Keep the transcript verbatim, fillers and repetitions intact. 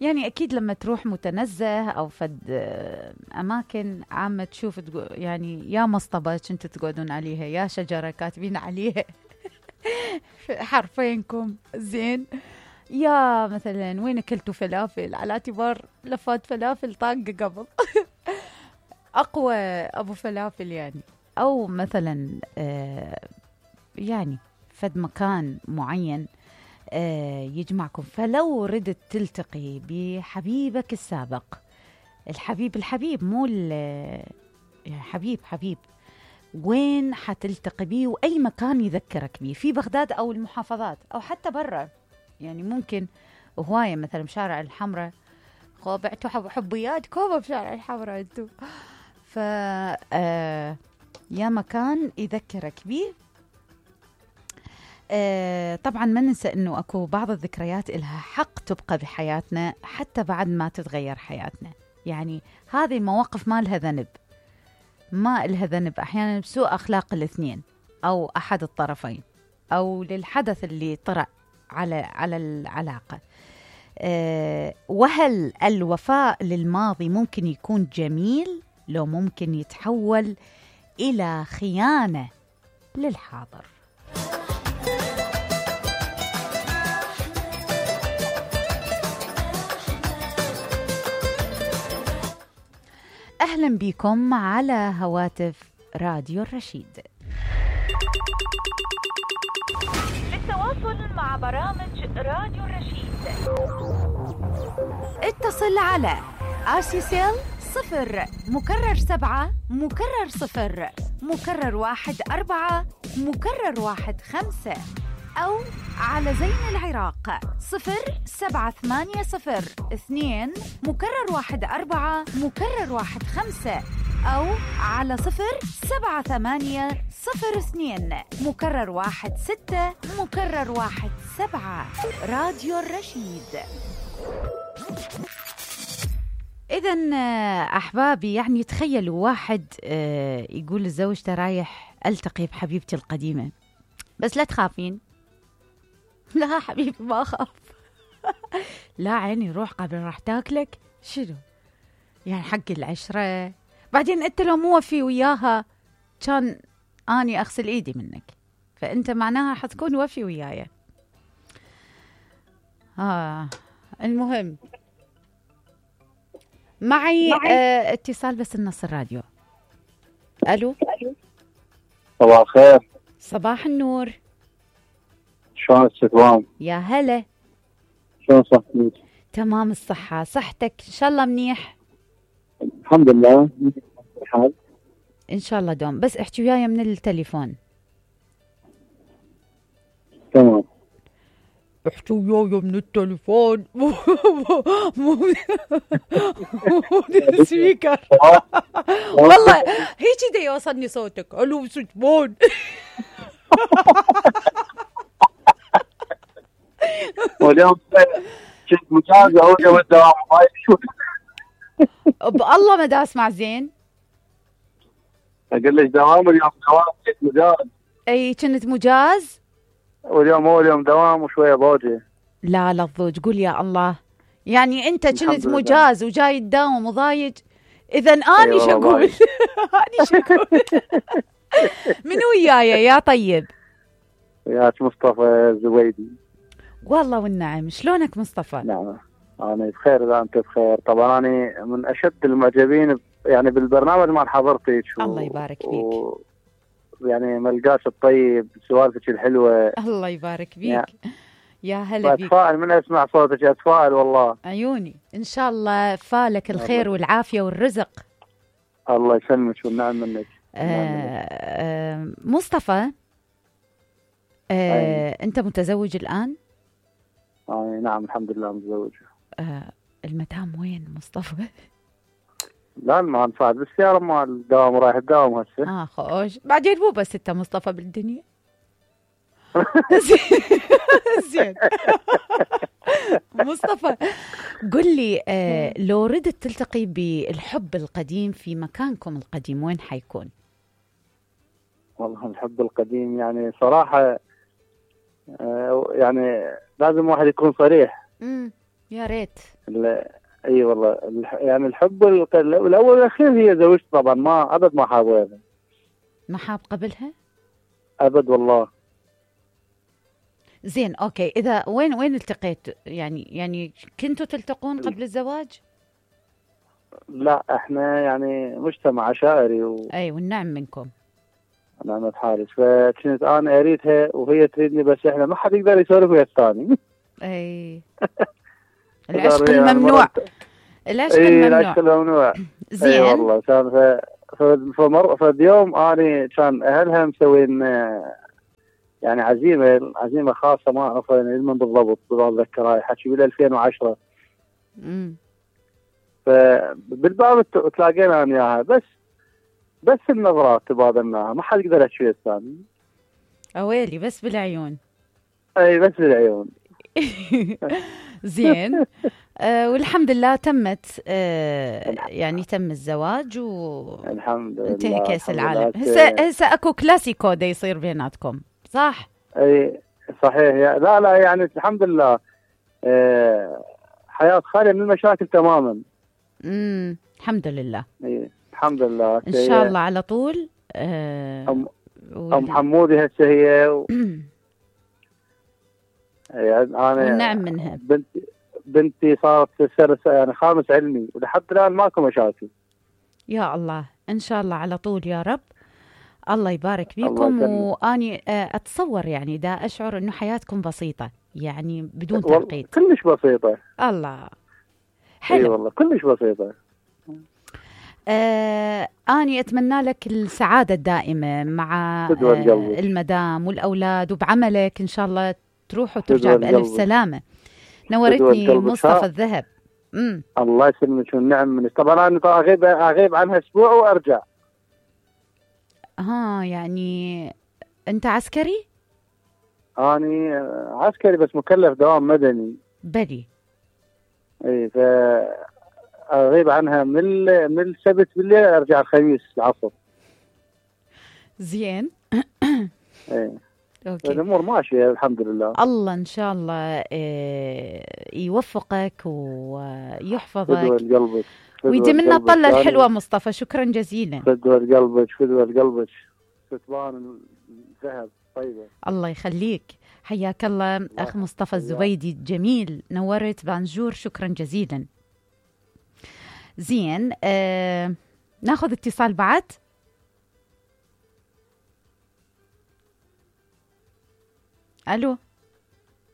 يعني أكيد لما تروح متنزه أو فد أماكن عامة تشوف يعني يا مصطبة كنتوا تقعدون عليها، يا شجرة كاتبين عليها حرفينكم زين، يا مثلا وين أكلتوا فلافل على اعتبار لفات فلافل طاقة قبل أقوى أبو فلافل يعني، أو مثلا آه يعني فد مكان معين آه يجمعكم. فلو ردت تلتقي بحبيبك السابق، الحبيب الحبيب مو يعني حبيب حبيب، وين حتلتقي بيه وأي مكان يذكرك بيه في بغداد أو المحافظات أو حتى برا؟ يعني ممكن هواية مثلا بشارع الحمراء، خو بعتوا حب حبيات كوبا بشارع الحمراء انتو، ف آه يا مكان يذكرك بيه. آه طبعا ما ننسى انه اكو بعض الذكريات إلها حق تبقى بحياتنا حتى بعد ما تتغير حياتنا. يعني هذه المواقف ما لها ذنب، ما لها ذنب احيانا بسوء اخلاق الاثنين او احد الطرفين او للحدث اللي طرأ على على العلاقة. أه وهل الوفاء للماضي ممكن يكون جميل لو ممكن يتحول إلى خيانة للحاضر؟ أهلا بكم على هواتف راديو الرشيد. للتواصل مع برامج راديو الرشيد اتصل على آسيسيل صفر مكرر سبعة مكرر صفر مكرر واحد أربعة مكرر واحد خمسة، أو على زين العراق صفر سبعة ثمانية صفر اثنين مكرر واحد أربعة مكرر واحد خمسة، أو على صفر سبعة ثمانية صفر اثنين مكرر واحد ستة مكرر واحد سبعة. راديو الرشيد. إذن أحبابي، يعني تخيلوا واحد يقول لزوجته رايح ألتقي بحبيبتي القديمة، بس لا تخافين. لا حبيبي ما أخاف. لا عيني روح قبل راح تاكلك. شنو يعني حق العشرة؟ بعدين أنت لو مو وفي وياها كان أني أغسل إيدي منك، فأنت معناها حتكون وفي وياي. آه المهم معي آه اتصال بس النص الراديو. ألو صباح الخير. صباح النور. شلون الستوام؟ يا هلا. شلون صحتك؟ تمام الصحة، صحتك إن شاء الله منيح؟ الحمد لله الحال إن شاء الله دوم. بس احكي وياي من التليفون. تمام. احكي وياي من التليفون مو مو السبيكر. والله هيك دا يوصلني صوتك. الو ستمون. واليوم كنت مجازة أوجه والدوام بالله ما دا اسمع زين. أقول لك دوام اليوم دوام كنت مجاز. اي كنت مجاز واليوم هو اليوم دوام وشوية بوجه. لا لا الضوج قول يا الله. يعني انت كنت مجاز وجاي تداوم وضايج، اذا اني شو اقول؟ اني شو اقول؟ من وياي يا طيب؟ وياك مصطفى الزويدي. والله والنعم. شلونك مصطفى؟ نعم انا بخير اذا انت بخير. طبعا انا من اشد المعجبين يعني بالبرنامج مال حضرتك. و... الله يبارك فيك. و... يعني ملقاش الطيب، سوالفك الحلوه. الله يبارك فيك. يعني يا هلا بيك. اتفائل من اسمع صوتك، اتفائل والله. عيوني ان شاء الله فالك الخير الله. والعافيه والرزق. الله يسلمك والنعم منك. آه آه مصطفى آه انت متزوج الان؟ آه نعم الحمد لله متزوج. آه المدام وين مصطفى؟ لا ما نفعل بالسيارة مال الدوام، رايح الدوام هسه. اه خوش. بعدين مو بس انت مصطفى بالدنيا. زين. مصطفى قل لي آه لو ردت تلتقي بالحب القديم في مكانكم القديم وين حيكون؟ والله الحب القديم يعني صراحة آه يعني لازم واحد يكون صريح. امم يا ريت. لا، اي والله الح- يعني الحب الق- الاول والاخير هي زوجتي طبعا، ما ابد ما حاب غيرها. ما حاب قبلها؟ ابد والله. زين اوكي، اذا وين وين التقيت يعني يعني كنتوا تلتقون قبل الزواج؟ لا احنا يعني مجتمع عشائري و... اي والنعم منكم. نعمة حارس، فكنت انا اريدها وهي تريدني، بس احنا ما حد يقدر يسولف ويا الثاني. اي العشق يعني الممنوع. مرة- العشق اي الممنوع. العشق الممنوع. اي زين. والله كان ف... ف... فمر... فاليوم اني كان اهلها مسوين آه، يعني عزيمه عزيمه خاصه، ما اعرف من بالضبط، بتذكر هاي حكي بال ألفين وعشرة. امم فبالباب ت- تلاقينا انا وياها، بس بس النظرات تبادلناها، ما حد يقدر يحكي الثاني. اويلي بس بالعيون. اي بس بالعيون. زين. آه والحمد لله تمت، آه يعني تم الزواج وانتهى الحمد لله. كأس الحمد العالم. لله. هسه هسه اكو كلاسيكو دا يصير بيناتكم صح؟ اي صحيح. يا لا لا يعني الحمد لله. آه، حياة خالية من المشاكل تماما. امم الحمد لله. اي الحمد لله. ان شاء الله على طول. آه ام وال... ام حمودي هسه هي و... يعني انا والنعم منها. بنتي بنتي صارت سنة يعني خامس علمي، ولحد الان ماكو مشاكل. يا الله ان شاء الله على طول يا رب. الله يبارك الله فيكم. يسلمك. واني آه، اتصور يعني دا اشعر انه حياتكم بسيطه يعني بدون والله تعقيد. كلش بسيطة. الله اي حلو. والله كلش بسيطة. آه أني أتمنى لك السعادة الدائمة مع فدوى آه القلب. المدام والأولاد وبعملك إن شاء الله تروح فدوى وترجع بألف القلب. سلامة. فدوى نورتني القلب. مصطفى شا- الذهب. امم الله يسلمك والنعم منك. طبعا انا طبعا اغيب اغيب عنها اسبوع وارجع. ها يعني أنت عسكري؟ اني عسكري بس مكلف دوام مدني. بلي. اي ف اغيب عنها من ال- من السبت بالليل، ارجع الخميس العصر. زين. اي أوكي. الامور ماشيه الحمد لله. الله إن شاء الله آه يوفقك ويحفظك فدوى قلبك. ويديم لنا الطلة الحلوة مصطفى. شكرا جزيلا. فدوى قلبك. فدوى قلبك. ستبان الذهب طيبه. الله يخليك. حياك الله أخ مصطفى الزبيدي. جميل نورت بانجور. شكرا جزيلا. زين. آه ناخذ اتصال بعد. ألو.